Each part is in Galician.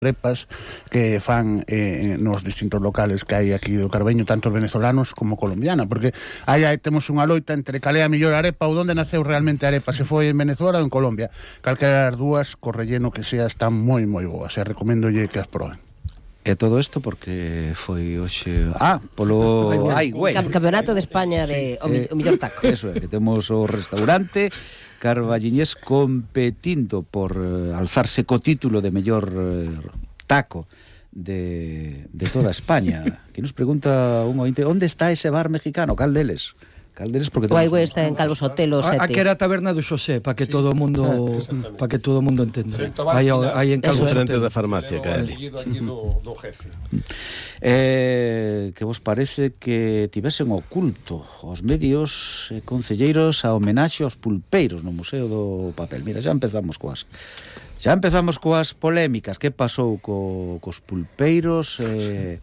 arepas que fan nos distintos locales que hai aquí do Carballiño, tanto venezolanos como colombiana, porque aí temos unha loita entre cal é a mellor arepa ou onde naceu realmente a arepa, se foi en Venezuela ou en Colombia. Calquera das dúas, co relleno que sea, están moi boas, e recomendolle que as proben. E todo isto porque foi hoxe polo Campeonato de España de o mellor taco. Eso é, que temos o restaurante carballiñés competindo por alzarse co título de mellor taco de toda España. Que nos pregunta un ointe, onde está ese bar mexicano? Cal deles? Porque o Aigüe está en Calvo Sotelo 7. Aquí era a taberna do Xosé, para que todo o mundo entenda. Aí en Calvo frente Sotelo da farmacia que é ali. do jefe. Que vos parece que tivesen oculto os medios concelleiros a homenaxe aos pulpeiros no Museo do Papel? Mira, xa empezamos coas polémicas. Que pasou cos pulpeiros e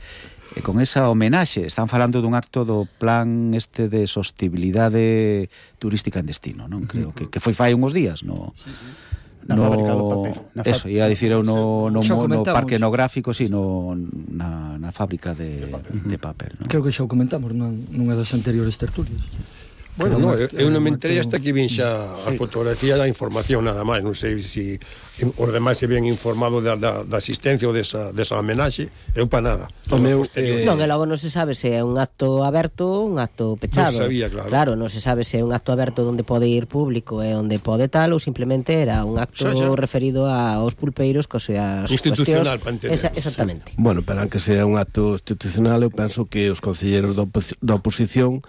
con esa homenaxe? Están falando dun acto do plan de sostibilidade turística en destino, non? Creo que foi fai uns días, no? Sí. Na fábrica do papel. Eso, ia dicir eu no parque etnográfico, si, na fábrica de papel, non? Creo que xa o comentamos nunha das anteriores tertulias. Bueno, eu non me enterei hasta que vin xa a fotografía da información nada máis. Non sei se os demais se ven informados da asistencia ou desa homenaxe. Eu pa nada. Non, e logo non se sabe se é un acto aberto ou un acto pechado. Non sabía, claro. Claro, non se sabe se é un acto aberto onde pode ir público e onde pode tal, ou simplemente era un acto referido aos pulpeiros cos as institucional, para entender. Exactamente. Bueno, pero aunque sea un acto institucional, eu penso que os concelleiros da oposición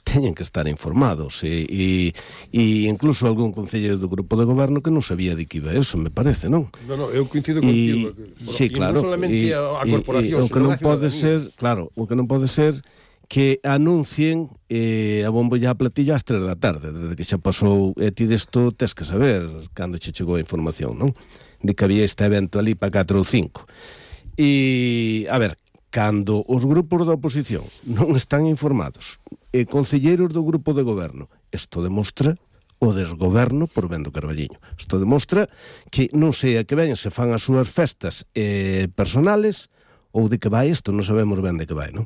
teñen que estar informados e incluso algún concelleiro do grupo de goberno que non sabía de que iba eso, me parece, non? Non, eu coincido contigo. Sí, claro. Non solamente a corporación, o que non pode ser, claro, o que non pode ser que anuncien a bombo e a platillo ás 3 da tarde, desde que xa pasou, e ti desto tes que saber cando che chegou a información, non? De que había este evento ali para 4 ou 5. E, a ver, cando os grupos da oposición non están informados e concelleiros do grupo de goberno, isto demostra o desgoberno por ben do Carballiño. Isto demostra que non sei a que ven se fan as súas festas personales ou de que vai isto, non sabemos ben de que vai, non?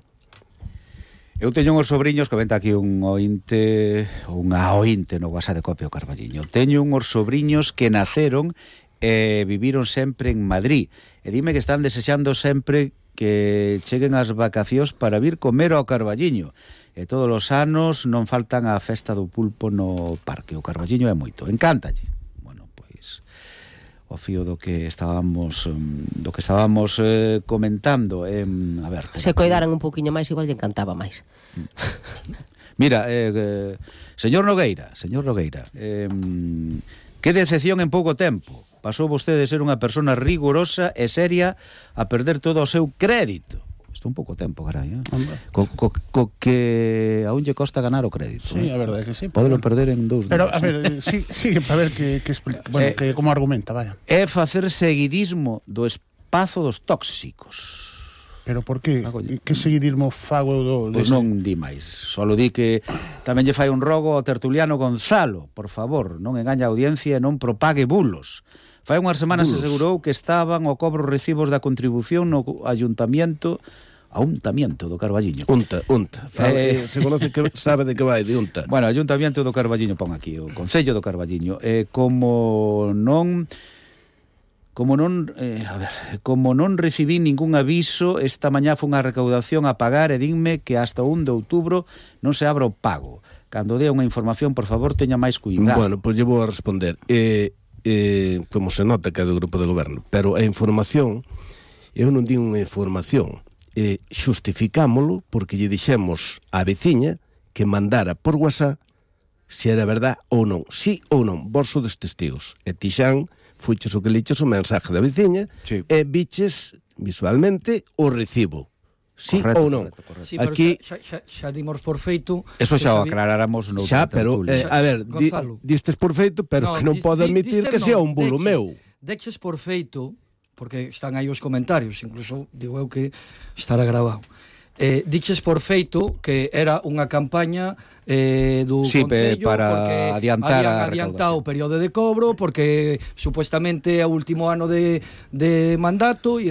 Eu teño uns sobriños, que venta aquí un ointe, unha ointe no WhatsApp de Copia o Carballiño. Teño uns sobriños que naceron e viviron sempre en Madrid. E dime que están desexando sempre que cheguen as vacacións para vir comer ao Carballiño. E todos os anos non faltan a festa do pulpo no parque. O Carballiño é moito, encántalle. Bueno, pois o fío do que estábamos comentando, a ver, se coidaran un pouquiño máis, igual lle encantaba máis. Mira, señor Nogueira, que decepción en pouco tempo. Pasou vostede de ser unha persona rigurosa e seria a perder todo o seu crédito. Isto un pouco tempo, carai, co que aún lle costa ganar o crédito. Sí, a verdade que sí. Podelo perder en 2 días. Pero, a ver, sí, para ver que explica. Bueno, que como argumenta, vaya. É facer seguidismo do espazo dos tóxicos. Pero por que? Que seguidismo fago do... Pois non di máis. Solo di que tamén lle fai un rogo ao tertuliano Gonzalo. Por favor, non engaña a audiencia e non propague bulos. Fai unhas semanas se asegurou que estaban o cobro recibos da contribución no ayuntamiento do Carballiño. Unta. Se conoce que sabe de que vai, de Unta. Bueno, ayuntamiento do Carballiño, pon aquí, o Concello do Carballiño. Como non recibí ningún aviso, esta mañá foi unha recaudación a pagar e dinme que hasta o 1 de outubro non se abra o pago. Cando dé unha información, por favor, teña máis cuidado. Bueno, pois lle vou a responder. Como se nota que é do grupo de goberno, pero a información, eu non digo unha información, xustificámolo porque lle dixemos á veciña que mandara por WhatsApp se era verdad ou non, sí ou non, vos sodes testigos, e ti xan fuiches o que liches o mensaje da veciña, sí, e viches visualmente o recibo. Sí, correcto, ou non. Correcto. Sí, aquí xa dimos por feito. Eso xa o aclaráramos no xa, pero a ver, distes por feito, pero que non pode admitir que sea un bulo meu. Deches por feito, porque están aí os comentarios, incluso digo eu que estará grabado. Diches por feito que era unha campaña do Concello para adiantar adiantado o período de cobro porque supuestamente é o último ano de mandato e